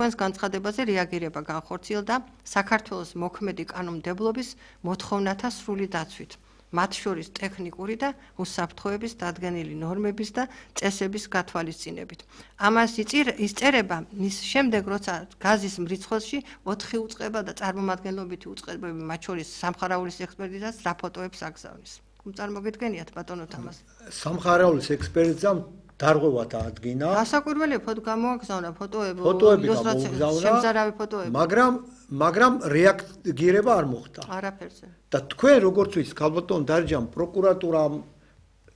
Თქვენს განცხადებაზე რეაგირება განხორციელდა საქართველოს მოქმედი კანონმდებლობის მოთხოვნათა სრული დაცვით, მათ შორის ტექნიკური და უსაფრთხოების დადგენილი ნორმების და წესების გათვალისწინებით. ამას ისწერება მის შემდეგ, როცა გაზის მრიცხველში 4 უწყება და წარმომადგენლობითი უწყებები, მათ შორის სამხარაულის ექსპერტიზას რა ფოტოებს აგზავნის. წარმოგიდგენიათ ბატონო თამას. სამხარაულის ექსპერტიზამ დარღვევა დაადგინა. გასაკვირველი გამოაგზავნა ფოტოები, შემზარავი ფოტოები. მაგრამ რეაგირება არ მოხდა. არაფერზე. და თქვენ როგორც ვიცით, ქალბატონ დარიჯან, პროკურატურამ,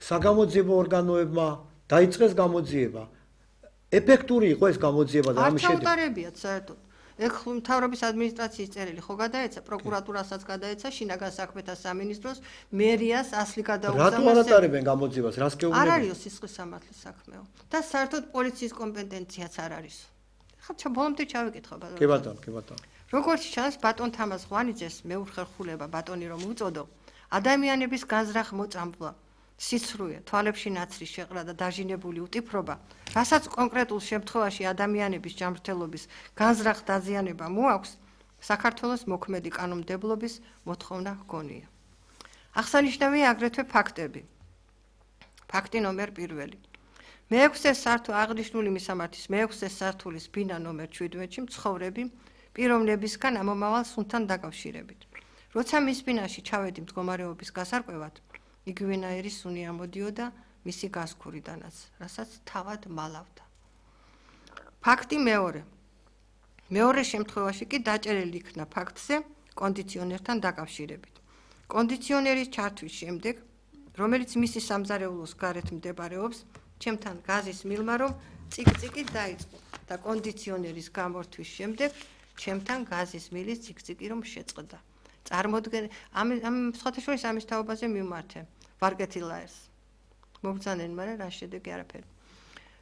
საგამოძიებო ორგანოებმა დაიწყეს გამოძიება. ეფექტური იყო ეს გამოძიება და ამის შედეგად. ჩაუტარებიათ საერთოდ. ეხლა მთავრობის ადმინისტრაციის წერილი ხო გადაეცა, პროკურატურასაც გადაეცა, შინაგან საქმეთა სამინისტროს, მერიას ასლი გადაუგზავნა. რატო არ ატარებენ გამოძიებას? რას გეუბნებიან? არ არის სისხლის სამართლის საქმეო. და საერთოდ პოლიციის კომპეტენციაც არ არის. ხა ბოლომდე ჩავიკითხო ბატონო. კი ბატონო. როგორც ჩანს, ბატონ თამაზ ღვანიძეს მეუხერხულება ბატონი რომ უწოდო, ადამიანების განზრახ მოწამვლა, სიცრუე, თვალებში ნაცრის შეყრა და დაჟინებული უტიფრობა, რასაც კონკრეტულ შემთხვევაში ადამიანების ჯანმრთელობის განზრახ დაზიანება მოაქვს, საქართველოს მოქმედი კანონმდებლობის მოთხოვნა ჰგონია. აღსანიშნავია აგრეთვე ფაქტები. ფაქტი ნომერ 1. მე-6 სართული აღნიშნული მისამართის მე-6 სართულის ბინა ნომერ 17-ში მცხოვრები პიროვნებისგან ამომავალ სუნთან დაკავშირებით. როცა მის ბინაში ჩავედი მდგომარეობის გასარკვევად, იგივენაირი სუნი ამოდიოდა მისი გასქურიდანაც, რასაც თავად მალავდა. ფაქტი მეორე. მეორე შემთხვევაში კი დაჭერილი იქნა ფაქტზე კონდიციონერთან დაკავშირებით. კონდიციონერის ჩართვის შემდეგ, რომელიც მისი სამზარეულოს გარეთ მდებარეობს, ჩემთან გაზის მილმა რომ ციკ-ციკი დაიწყო და კონდიციონერის გამორთვის შემდეგ ჩემთან გაზის მილის ციკ-ციკი რომ შეწყდა. წარმოდგენ ამ სხვათაშორის ამის თაობაზე მიმართე ვარგეთილაერს. მობრძანენ, მაგრამ რა შედეგი არაფერი.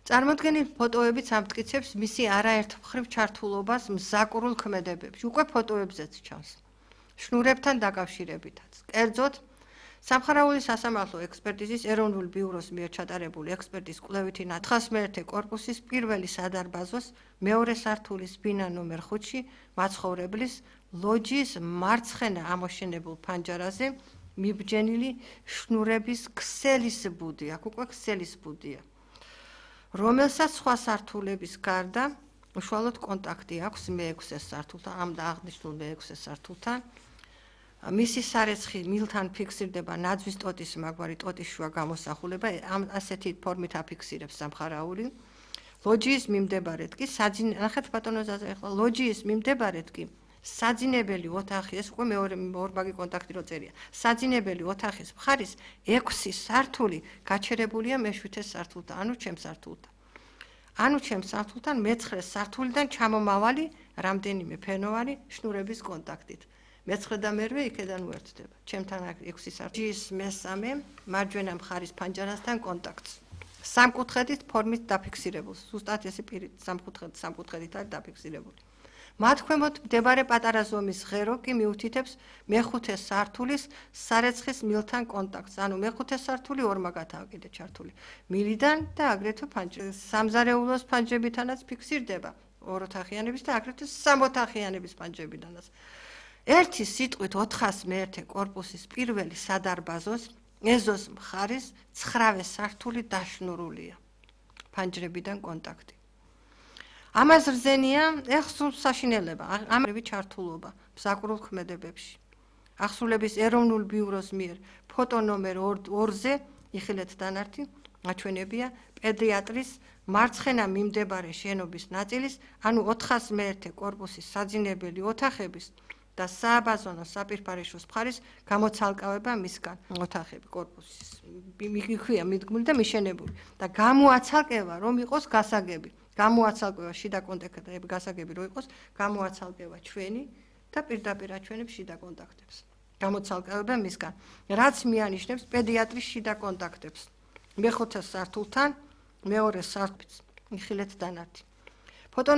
წარმოდგენილ ფოტოებიც ამტკიცებს მისი არაერთ მხრივ ჩართულობას მზაკრულ ქმედებებში. უკვე ფოტოებზეც ჩანს. შნურებთან დაკავშირებითაც. კერძოდ სამხარაულის სასამართლო ექსპერტიზის ეროვნულ ბიუროს მიერ ჩატარებული ექსპერტის კვლევითი 901 კორპუსის პირველი სადარბაზოს მეორე სართულის ბინა ნომერ 5-ში მაცხოვრებლის ლოჯის მარცხენა ამოშენებულ ფანჯარაზე მიბჯენილი შნურების ქსელის ბუდი, აქ უკვე ქსელის ბუდია, რომელსაც სხვა სართულების გარდა უშუალოდ კონტაქტი აქვს მე-6 სართულთან, ამ და აღნიშნულ მე-6 სართულთან. მისი სარეცხი მილთან ფიქსირდება ნაძვის ტოტის მაგვარი ტოტის შუა გამოსახულება, ასეთი ფორმით აფიქსირებს სამხარაული. ლოჯიის მიმდებარედ კი ნახეთ ბატონო ზაზა, ახლა ლოჯიის მიმდებარედ კი საძინებელი ოთახი, ეს უკვე მეორე ორმაგი კონტაქტი რო წერია. საძინებელი ოთახის მხარის 6 სართული გაჩერებულია მე-7 სართულთან, ანუ ჩემს სართულთან მე-9 სართულიდან ჩამომავალი რამდენიმე ფენოვანი შნურების კონტაქტით. მე-9 და მე-8 იქედან უერთდება. ჩემთან 6 სართულის მე-3 მარჯვენა მხარის ფანჯარასთან კონტაქტს. სამკუთხედით ფორმით დაფიქსირებულ. ზუსტად ესე პირით სამკუთხედით არის დაფიქსირებული. მათ ქვემოთ მდებარე პატარა ზომის ღერო კი მიუთითებს მე-5 სართულის სარეცხის მილთან კონტაქტს. ანუ მე-5 სართული ორმაგათაა კიდე ჩართული. მილიდან და აგრეთვე სამზარეულოს ფანჯრებითანაც ფიქსირდება. ოროთახიანების და აგრეთვე სამოთახიანების ფანჯრებიდანაც. ერთი სიტყვით 401 კორპუსის პირველი სადარბაზოს ეზოს მხარის 9 სართული დაშნურულია. ფანჯრებიდან კონტაქტი. ამას რძენია ეხსულ საშინელება, ამრევი ჩართულობა მზაკრულ ქმედებებში. ახსულების ეროვნულ ბიუროს მიერ ფოტო ნომერ 2-ზე იხილეთ დანართი აჩვენებია პედიატრის მარცხენა მიმდებარე შენობის ნაწილის, ანუ 401 კორპუსის საძინებელი ოთახების და სააბაზონო საპირფარეშოს მხარის გამოცალკავება მისგან. ოთახები კორპუსის მიგვიქვია მიდგმული და მიშენებული და გამოაცალკევა რომ იყოს გასაგები. გამოაცალკევა შიდა კონტაქტები გასაგები რო იყოს, გამოაცალკევა ჩვენი და პირდაპირ აჩვენებს შიდა კონტაქტებს. გამოცალკევა მისგან, რაც მიანიშნებს პედიატრის შიდა კონტაქტებს. მე-5 სართულთან, მეორე სართულს იხილეთ დანართი. ფოტო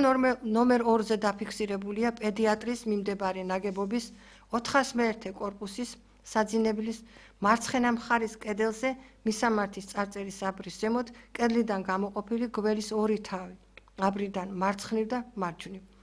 ნომერ 2-ზე დაფიქსირებულია პედიატრის მიმდებარე ნაგებობის 401 კორპუსის საძინებლის მარცხენა მხარის კედელზე მისამართის წარწერის აბრის ზემოთ კედლიდან გამოყოფილი გველის 2 თავი, აბრიდან მარცხნივ და მარჯვნივ.